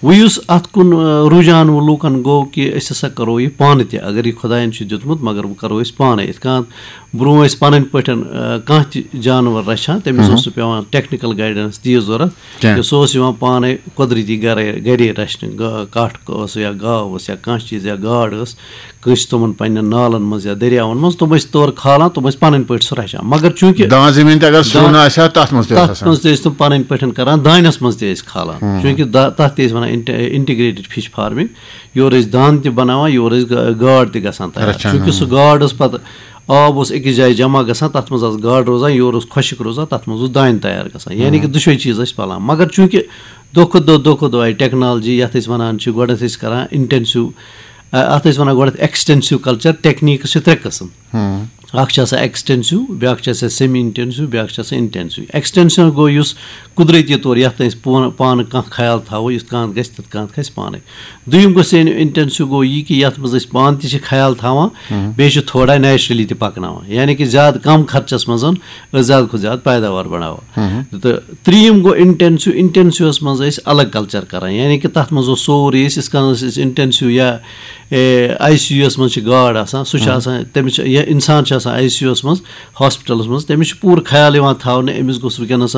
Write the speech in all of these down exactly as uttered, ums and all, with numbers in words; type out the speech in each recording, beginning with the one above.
وۄنۍ یُس اَتھ کُن، آ، رُجحان وۄنۍ لوٗکَن گوٚو کہِ أسۍ ہسا کَرو یہِ پانہٕ تہِ، اگر یہِ خۄدایَن چھُ دیُتمُت، مگر وۄنۍ کَرو أسۍ پانَے۔ یِتھ کٔنۍ برٛونٛہہ ٲسۍ پَنٕنۍ پٲٹھۍ، آ، کانٛہہ تہِ جانوَر رَچھان، تٔمِس مہم۔ اوس نہٕ پٮ۪وان technical guidance تہِ ضوٚرَتھ کینٛہہ۔ کینٛہہ۔ سُہ اوس یِوان پانَے قۄدرٔتی گَرَے، گَرے رَچھنہٕ۔ گا-، کَٹھ اوس یا گاو ٲس یا کانٛہہ چیٖز یا گاڈ ٲس، کٲنٛسہِ تِمَن پنٛنٮ۪ن نالَن منٛز یا دٔریاوَن منٛز، تِم ٲسۍ تورٕ کھالان، تِم ٲسۍ پَنٕنۍ پٲٹھۍ سُہ رَچھان۔ مگر چوٗنٛکہِ دان زٔمیٖن تہِ اگر سُہ دان-، نہ آسہِ ہا، تَتھ منٛز تہِ اوس تَتھ آسان۔ منٛز تہِ ٲسۍ تِم پَنٕنۍ پٲٹھۍ کَران، دانٮ۪س منٛز تہِ ٲسۍ کھالان۔ ہُم۔ چوٗنٛکہِ دا-، تَتھ تہِ ٲسۍ وَنان اِنٹہِ-، integrated fish farming۔ یورٕ ٲسۍ دان تہِ بَناوان، یورٕ ٲسۍ گا-، گاڈ تہِ گژھان تیار۔ رَچھان، چوٗنٛکہِ ہُم۔ سُہ گاڈ ٲس پَتہٕ، آب اوس أکِس جایہِ جمع گژھان، تَتھ منٛز آسہٕ گاڈٕ روزان، یورٕ اوس خۄشٕک روزان، تَتھ منٛز اوس دانہِ تیار گژھان۔ یعنی کہِ ہُم۔ دُشوَے چیٖز ٲسۍ پَلان۔ مگر چوٗنٛکہِ دۄہ کھۄتہٕ دۄہ، دۄہ کھۄتہٕ دۄہ آیہِ technology، یَتھ أسۍ وَنان چھِ، گۄڈٕنٮ۪تھ ٲسۍ کَران intensive، اَ-، اَتھ ٲسۍ وَنان گۄڈٕنٮ۪تھ extensive culture، techniques چھِ ترٛےٚ قٕسٕم۔ ہُم۔ اَکھ چھِ آسان extensive، بیٛاکھ چھِ آسان semi intensive، بیٛاکھ چھِ آسان intensive۔ Extensive گوٚو یُس قۄدرٔتی طور یَتھ أسۍ پون-، پانہٕ کانٛہہ خیال تھاوو، یُتھ کانٛہہ گژھِ، تِتھ کانٛہہ کھسہِ پانَے۔ دوٚیِم گوٚو semi intensive، گوٚو یہِ کہِ یَتھ منٛز أسۍ پانہٕ تہِ چھِ خیال تھاوان، ہُم۔ بیٚیہِ چھِ تھوڑا naturally تہِ پَکناوان، یعنی کہِ زیادٕ کَم خرچَس منٛز أسۍ زیادٕ کھۄتہٕ زیادٕ پیداوار بَڑاوان۔ ہُم۔ تہٕ ترٛیٚیِم گوٚو intensive۔ Intensiveس منٛز ٲسۍ الگ culture کَران، یعنی کہِ تَتھ منٛز اوس سورُے، أسۍ یِتھ کٔنۍ ٲسۍ أسۍ intensive یا، اے، آی سی یوٗہَس منٛز چھِ گاڈ آسان، سُہ چھُ ہُم۔ آسان، تٔمِس چھِ، یا اِنسان چھُ آسان آی سی یوٗہَس منٛز، hospitalس منٛز، تٔمِس چھُ پوٗرٕ خیال یِوان تھاونہٕ، أمِس گوٚژھ وٕنکیٚنَس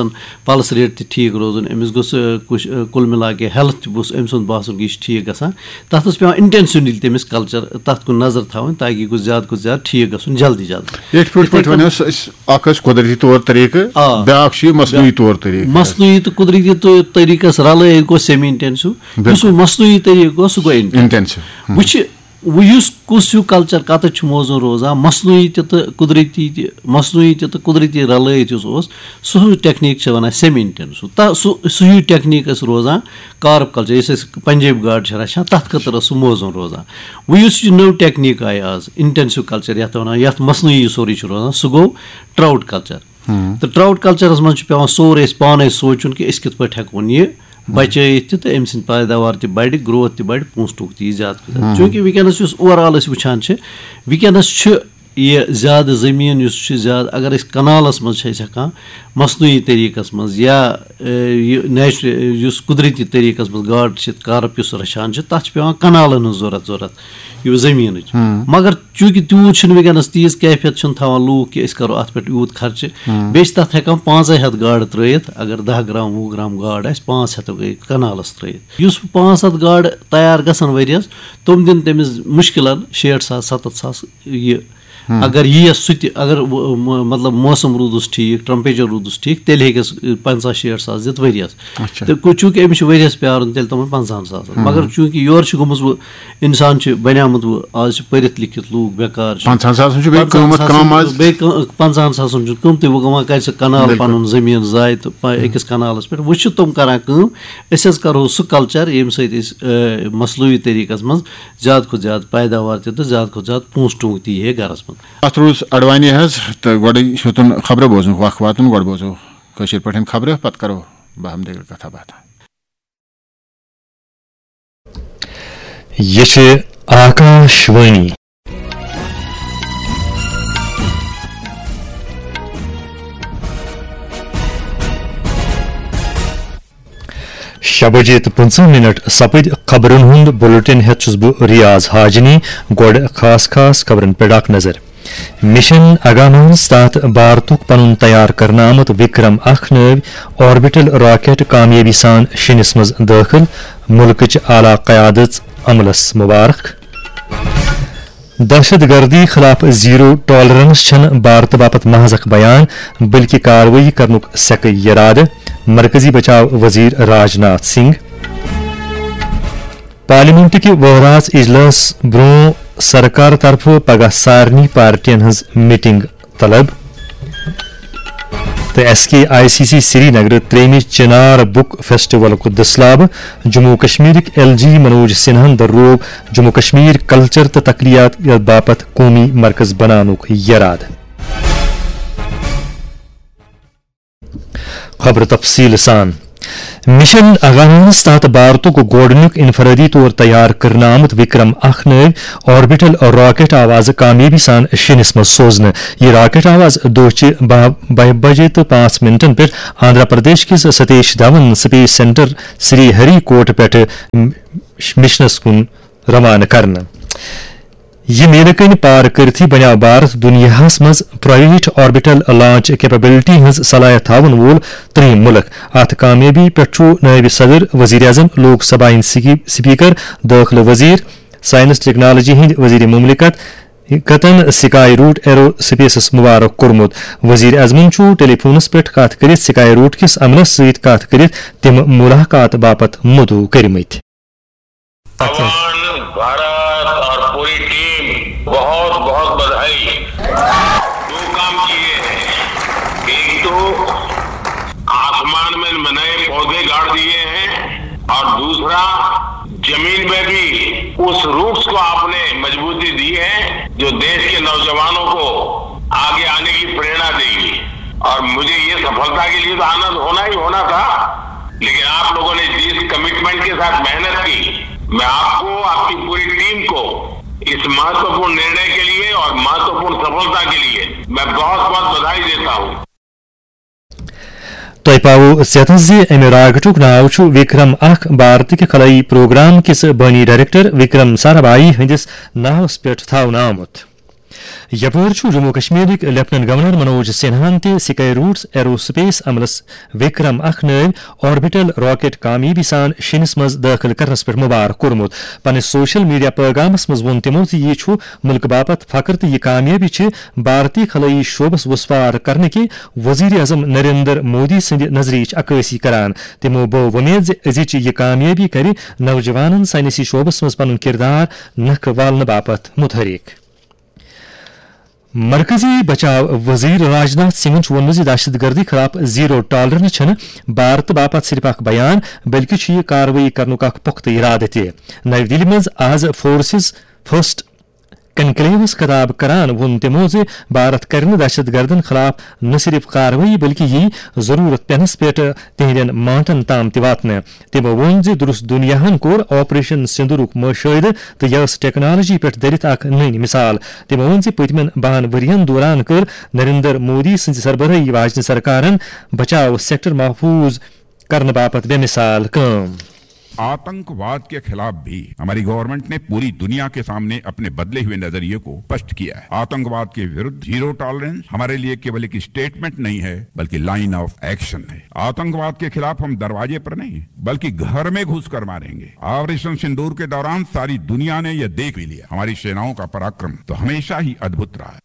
pulse rate تہِ ٹھیٖک روزُن، أمِس گوٚژھ، اے، کُش-، اے، کُل مِلا کے health تہِ گوٚژھ أمۍ سُنٛد باسُن کہِ یہِ چھُ ٹھیٖک گژھان۔ تَتھ اوس پٮ۪وان intentionally تٔمِس culture، تَتھ کُن نظر تھاوٕنۍ، تاکہِ یہِ گوٚژھ زیادٕ کھۄتہٕ زیادٕ ٹھیٖک گژھُن، جلدی جلدی۔ یِتھ پٲٹھۍ، یِتھَے پٲٹھۍ کٔنۍ وَنو أسۍ، اَکھ ٲسۍ قۄدرٔتی طور طریٖقہٕ، آ۔ بیٛاکھ چھُ یہِ مصنوعی طور طریٖقہٕ۔ مصنوعی تہٕ قۄدرٔتی طو-، طریٖقَس رَلٲیِتھ گوٚو semi intensive۔ بِلکُل۔ یُس وۄنۍ مصنوعی طریٖقہٕ گوٚو، سُہ گوٚو intensive۔ Intensive۔ ہُم۔ وۄنۍ چھِ، وۄنۍ یُس کُس ہیوٗ culture کَتَتھ چھُ موزوٗن روزان، مصنوعی تہِ تہٕ قۄدرٔتی تہِ، مصنوعی تہِ تہٕ قۄدرٔتی رَلٲیِتھ یُس اوس، سُہ ہیوٗ technique چھِ وَنان semi intensive۔ تہ-، سُہ، سُہ ہیوٗ technique ٲس روزان carp culture، یُس أسۍ پنجٲبۍ گاڈٕ چھِ رَچھان، تَتھ خٲطرٕ ٲس سُہ موزوٗن روزان۔ وۄنۍ یُس یہِ نٔو technique آیہِ آز، intensive culture یَتھ وَنان، یَتھ مصنوعی یہِ سورُے چھُ روزان، سُہ گوٚو trout culture۔ ہُم۔ تہٕ trout cultureس منٛز چھُ پٮ۪وان سورُے اَسہِ پانَے سونٛچُن کہِ أسۍ کِتھ پٲٹھۍ ہٮ۪کون یہِ ہُم۔ بچٲیِتھ تہِ، تہٕ أمۍ سٕنٛدۍ پیداوار تہِ بَڑِ، growth تہِ بَڑِ، پونٛسہٕ ٹوٗنٛک تہِ یی زیادٕ کھۄتہٕ زیادٕ۔ ہُم۔ چوٗنٛکہِ وٕنکیٚنَس یُس overall أسۍ وٕچھان چھِ، وٕنکیٚنَس چھُ یہِ زیادٕ زٔمیٖن یُس چھُ زیادٕ، اگر أسۍ canalس منٛز چھِ أسۍ ہٮ۪کان مصنوعی طریٖقَس منٛز یا، اے، یہِ natural، یُس قۄدرٔتی طریٖقَس منٛز گاڈٕ چھِ، carp یُس رَچھان چھِ، تَتھ چھِ پٮ۪وان canalن ہٕنٛز ضوٚرَتھ، ضوٚرَتھ یہِ زٔمیٖنٕچ۔ ہُم۔ مگر چوٗنٛکہِ تیوٗت چھُنہٕ وٕنکیٚنَس تیٖژ کیفیت چھُنہٕ تھاوان لوٗکھ کہِ أسۍ کَرو اَتھ پٮ۪ٹھ یوٗت خرچہٕ۔ ہُم۔ بیٚیہِ چھِ تَتھ ہٮ۪کان پانٛژَے ہَتھ گاڈٕ ترٛٲیِتھ، اگر دَہ گرام، وُہ گرام گاڈ آسہِ، پانٛژھ ہَتھ ہٮ۪کو أکِس canalس ترٛٲیِتھ۔ یُس پانٛژھ ہَتھ گاڈٕ تیار گژھن ؤریَس، تِم دِن تٔمِس مُشکِلَن شیٹھ ساس، سَتَتھ ساس یہِ۔ ہُم۔ اگر یِیَس سُہ تہِ، اگر و-، م-، مطلب، موسم روٗدُس ٹھیٖک، temperature روٗدُس ٹھیٖک، تیٚلہِ ہیٚکٮ۪س، اے، پنٛژاہ شیٹھ ساس دِتھ ؤریَس۔ اچھا۔ تہٕ کو-، چوٗنٛکہِ أمِس چھُ ؤریَس پیارُن تیٚلہِ تِمَن پنٛژاہَن ساسَن۔ ہُم۔ مگر چوٗنٛکہِ یورٕ چھُ گوٚمُت وۄنۍ، اِنسان چھُ بَنیومُت وۄنۍ، آز چھِ پٔرِتھ لیٚکھِتھ لوٗکھ بیکار چھِ۔ پنٛژاہَن ساسَن چھُ بیٚیہِ پنٛژاہَن قۭمَتھ ساسَن کَم آز۔ بیٚیہِ کٲ-، پنٛژاہَن ساسَن چھُ قۭمتٕے، وۄنۍ وۄنۍ کَرِ سُہ canal ہُم۔ پَنُن زٔمیٖن ضایع تہٕ پَ-، ہُم۔ أکِس canalس پٮ۪ٹھ۔ وۄنۍ چھِ تِم کَران کٲم، أسۍ حظ کَرہو سُہ culture، ییٚمہِ سۭتۍ أسۍ، اے، مصنوعی طریٖقَس منٛز زیادٕ کھۄتہٕ زیادٕ پیداوار تہِ تہٕ زیادٕ کھۄتہٕ زیادٕ پونٛسہٕ ٹوٗنٛک تہِ یی ہے گَرَس منٛز۔ اَتھ روٗز اَڑوانی حظ، تہٕ گۄڈَے چھُ تُن خبرٕ بوزُن، وق واتُن، گۄڈٕ بوزو کٲشِر پٲٹھۍ خبرٕ، پَتہٕ کَرو باہم دٔگِل کَتھا باتھا۔ یہِ چھِ آکاش وانی۔ شےٚ بجے تہٕ پٕنٛژٕہ منٹ سپٕدۍ۔ خبرن ہُنٛد بُلٹن ہٮ۪تھ چھُس بہٕ ریاض حاجنی۔ گۄڈٕ خاص خاص خبرن پٮ۪ٹھ اکھ نظر۔ مشن اگامس تحت بھارتُک پنُن تیار کرنہٕ آمُت وکرم اکھ نٲوۍ آربیٹل راکٹ کامیٲبی سان شیٚنِس منٛز دٲخل۔ مُلکٕچ اعلیٰ قیادت عملس مبارک۔ دہشت گردی خلاف زیرو ٹالرنس چھنہٕ بھارتہٕ باپتھ محض اکھ بیان، بلکہ کاروٲیی کرنُک سیکہٕ یرادٕ، مرکزی بچاو وزیر راج ناتھ سنگھ۔ پارلیمنٹ کہِ وہراژ اجلاس برونٛہہ سرکار طرفہٕ پگاہ سارنٕے پارٹین ہٕنٛز میٹنگ طلب۔ تہٕ S K I C C Srinagar ترٛیٚیمہِ چنار بک فیسٹیولُک دٔسلابہٕ۔ جموں و کشمیرٕکۍ ایل جی منوج سنہاہن درلوو جموں و کشمیر کلچر تہٕ تقلیدات باپتھ قومی مرکز بناونُک یرادٕ۔ خبرٕ تفصیٖل سان۔ مشن اگانس تحت بھارتُک گۄڈٕنیُک انفرادی طور تیار کرنہٕ آمُت وکرم اکھ نٲوۍ آربیٹل راکٹ آو از کامیٲبی سان شیٚنِس منٛز سوزنہٕ۔ یہِ راکٹ آو از دۄہچہِ باہ، باہ بجے تہٕ پانٛژھ منٹن پٮ۪ٹھ آندھرا پردیش کِس ستیش دھون سپیس سینٹر سری ہری کوٹ پٮ۪ٹھٕ مشنس کُن روانہٕ کرنہٕ۔ یہِ میلہٕ کٔنۍ پار کٔرتھٕے بنیٛاو بھارت دُنیاہَس منٛز پرائیویٹ آربیٹل لانچ کیپیبلٹی ہٕنٛز صلاحیت تھاون وول ترٛیٚیِم مُلک۔ اَتھ کامیٲبی پٮ۪ٹھ چھُ نٲیِب صدر، وزیر اعظم، لوک سبھا ہٕنٛدۍ سکی-، سپیکر، دٲخلہٕ وزیر، سائنس ٹیکنالوجی ہٕنٛدۍ وزیر مملکت کتن سکائی روٹ ایرو سپیسس مبارک کوٚرمُت۔ وزیر اعظمن چھُ ٹیلی فونس پٮ۪ٹھ کتھ کٔرِتھ سکائی روٹ کِس عملس سۭتۍ کتھ کٔرِتھ تِم ملاقات باپتھ مدعو کٔرمٕتۍ۔ भगवान, भारत और पूरी टीम बहुत बहुत बधाई। दो काम किए हैं, एक तो आसमान में नए पौधे गाड़ दिए हैं और दूसरा जमीन में भी उस रूट्स को आपने मजबूती दी है जो देश के नौजवानों को आगे आने की प्रेरणा देगी। और मुझे ये सफलता के लिए तो आनंद होना ही होना था, लेकिन आप लोगों ने जिस कमिटमेंट के साथ मेहनत की, मैं आपको, आपकी पूरी टीम को इस महत्वपूर्ण निर्णय के लिए और महत्वपूर्ण सफलता के लिए मैं बहुत बहुत बधाई देता हूँ। تۄہہِ پاوو ژیتس زِ امہِ راکٹُک ناو چھُ وکرم اکھ، بھارتٕکہِ خلٲیی پروگرام کِس بٲنی ڈائریکٹر وکرم سارابھایی ہٕنٛدِس ناوس پٮ۪ٹھ تھاونہٕ آمُت۔ یپٲرۍ چھُ جموں کشمیرٕکۍ لیفٹیننٹ گورنر منوج سنہاہن تہِ سکائی روٹس ایرو سپیس عملس وکرم اکھ نٲوۍ آربیٹل راکٹ کامیٲبی سان شیٚنِس منٛز دٲخل کرنس پٮ۪ٹھ مبارک کوٚرمُت۔ پننِس سوشل میڈیا پیغامس منٛز ووٚن تِمو زِ یہِ چھُ مُلکہٕ باپتھ فخر تہٕ یہِ کامیٲبی چھِ بھارتی خلٲیی شعبس وسوار کرنہٕ کہِ وزیر اعظم نریندر مودی سٕنٛدِ نظریچ عکٲسی کران۔ تِمو بٲو وۄمید زِ أزِچ یہِ کامیٲبی کرِ نوجوانن ساینسی شعبس منٛز پنُن کردار نکھٕ والنہٕ باپتھ متحرک۔ مرکزی بچاو وزیر راجناتھ سنگھن چھُ ووٚنمُت زِ دہشت گردی خلاف زیرو ٹالرنس چھنہٕ بھارت باپتھ صرف اکھ بیان، بلکہِ چھُ یہِ کاروٲیی کرنُک اکھ پختہٕ ارادٕ تہِ۔ نئی دِلہِ منٛز آز فورسز فرسٹ کنکلیوس خطاب کران ووٚن تِمو زِ بھارت کرِ نہٕ دہشت گردن خلاف نہ صرف کاروٲیی بلکہِ یی ضرورت پینس پٮ۪ٹھ تِہنٛدٮ۪ن مانٹن تام تہِ واتنہٕ۔ تِمو ووٚن زِ درست دُنیاہن کوٚر آپریشن سندورُک مشاہدٕ تہٕ یہِ ٲس ٹیکنالوجی پٮ۪ٹھ دٔرِتھ اکھ نٔنۍ مثال۔ تِمو ووٚن زِ پٔتمٮ۪ن بَہَن ؤرۍ یَن دوران کٔر نریندر مودی سٕنٛزِ سربرٲہی واجنہِ سرکارن بچاو سیکٹر محفوظ کرنہٕ باپتھ بے مثال کٲم۔ आतंकवाद के खिलाफ भी हमारी गवर्नमेंट ने पूरी दुनिया के सामने अपने बदले हुए नजरिए को स्पष्ट किया है। आतंकवाद के विरुद्ध जीरो टॉलरेंस हमारे लिए केवल एक स्टेटमेंट नहीं है, बल्कि लाइन ऑफ एक्शन है। आतंकवाद के खिलाफ हम दरवाजे पर नहीं, बल्कि घर में घुसकर मारेंगे। ऑपरेशन सिंदूर के दौरान सारी दुनिया ने यह देख भी लिया, हमारी सेनाओं का पराक्रम तो हमेशा ही अद्भुत रहा है।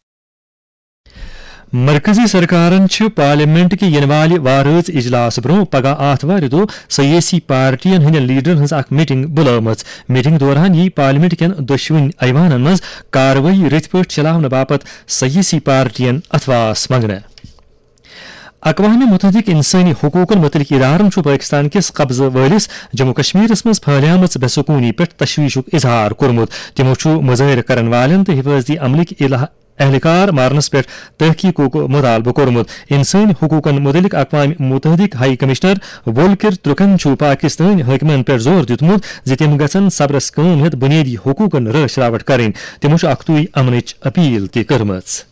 مرکزی سرکارن چھِ پارلیمنٹ کہِ یِنہٕ والہِ وارٲژ اجلاس برونٛہہ پگاہ آتھوارِ دۄہ سیٲسی پارٹین ہٕنٛدٮ۪ن لیڈرن ہٕنٛز اکھ میٹنگ بُلٲومٕژ۔ میٹنگ دوران یِیہِ پارلیمنٹ کٮ۪ن دۄشوٕنی ایوانن منٛز کاروٲیی رٕتۍ پٲٹھۍ چلاونہٕ باپتھ سیٲسی پارٹین اتھواس منٛگنہٕ۔ اقوام متحدٕک انسٲنی حقوٗقن مُتعلق ادارن چھُ پٲکستان کِس قبضہٕ وٲلِس جموں کشمیرس منٛز پھٔہلیمٕژ بے سکوٗنی پٮ۪ٹھ تشویشُک اظہار کوٚرمُت۔ تِمو چھُ مظٲہرٕ کرن والٮ۪ن تہٕ حفاظتی عملٕکۍ اہلکار مارنس پٮ۪ٹھ تحقیقُک مطالبہٕ کوٚرمُت۔ انسٲنی حقوٗقن مُتعلق اقوام متحدٕکۍ ہائی کمشنر وولکر ترکن چھُ پاکستٲنۍ حٲکمن پٮ۪ٹھ زور دیُتمُت زِ تِم گژھن صبرس کٲم ہٮ۪تھ بُنیٲدی حقوٗقن رٲچھ راوٹھ کرٕنۍ۔ تِمو چھُ اکھتُے امنٕچ اپیل تہِ کٔرمٕژ۔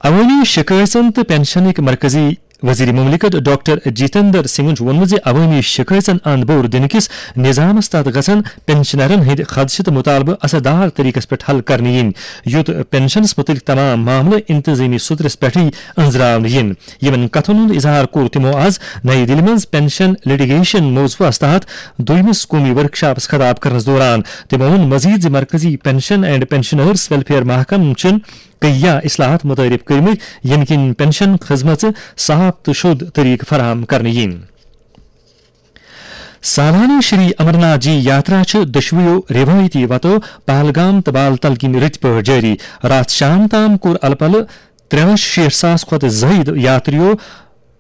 عوٲمی شِکٲژن تہٕ پنشنٕکۍ مرکزی وزیر مملکت ڈاکٹر جتیندر سنگھن چھُ ووٚنمُت زِ عوٲمی شِکٲژن اند بور دِنہٕ کِس نظامس تحت گژھن پنشنرن ہٕنٛدۍ خدشہٕ تہٕ مُطالبہٕ اثر دار طریقس پٮ۪ٹھ حل کرنہٕ یِنۍ، یُتھ پنشنس مُتعلق تمام معاملہٕ انتظٲمی سُترس پٮ۪ٹھٕے أنٛزراونہٕ یِن۔ یِمن کتھن ہُنٛد اظہار کوٚر تِمو از نئی دِلہِ منٛز پنشن لٹیگیشن موضوعس تحت دوٚیمِس قومی ورکشاپس خطاب کرنس دوران۔ تِمو ووٚن مزید زِ مرکزی پنشن اینڈ پنشنرز ویلفیئر محکمہٕ چھُن کیہ اصلاحات متعارف کٔرمٕتۍ، ییٚمہِ کِنۍ پنشن خدمژٕ صاف تہٕ شوٚد طریقہٕ فراہم کرنہٕ یِن۔ سالانہٕ شری امرناتھ جی یاترا چھِ دۄشوٕیو روایتی وتو پہلگام تہٕ بال تل کِنۍ رٕتۍ پٲٹھۍ جٲری۔ راتھ شام تام کوٚر الہٕ پلہٕ ترٛےٚ لچھ شیٹھ ساس کھۄتہٕ زٲیِد یاترِیو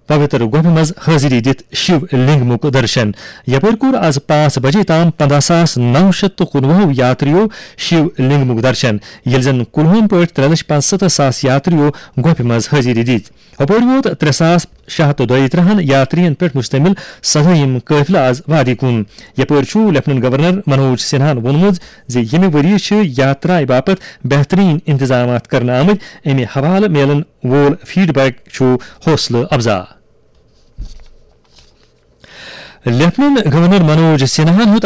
پوتر گۄپھِ منٛز حٲضری دِتھ شِو لنگمُک درشن۔ یپٲرۍ کوٚر از پانٛژھ بجے تام پنٛداہ ساس نو شیٚتھ تہٕ کُنوُہو یاترِیو شِو لنگمُک درشن، ییٚلہِ زن کُلہُم پٲٹھۍ ترٛےٚ لچھ پانٛژستتھ ساس یاترِیو گۄپھِ منٛز حٲضری دِتۍ۔ ہُپٲرۍ ووت ترٛےٚ ساس شےٚ ہتھ تہٕ دۄیہِ ترٕٛہن یاترین پٮ۪ٹھ مشتمل سدٲہِم قٲفلہٕ آز وادی کُن۔ یپٲرۍ چھُ لیفٹیننٹ گورنر منوج سنہاہن ووٚنمُت زِ ییٚمہِ ؤریہِ چھِ یاترایہِ باپتھ بہترین انتظامات کرنہٕ آمٕتۍ، امہِ حوالہٕ میلن وول فیڈ بیک چھُ حوصلہٕ افزا۔ لیفٹیننٹ گورنر منوج سنہاہن ہیوٚت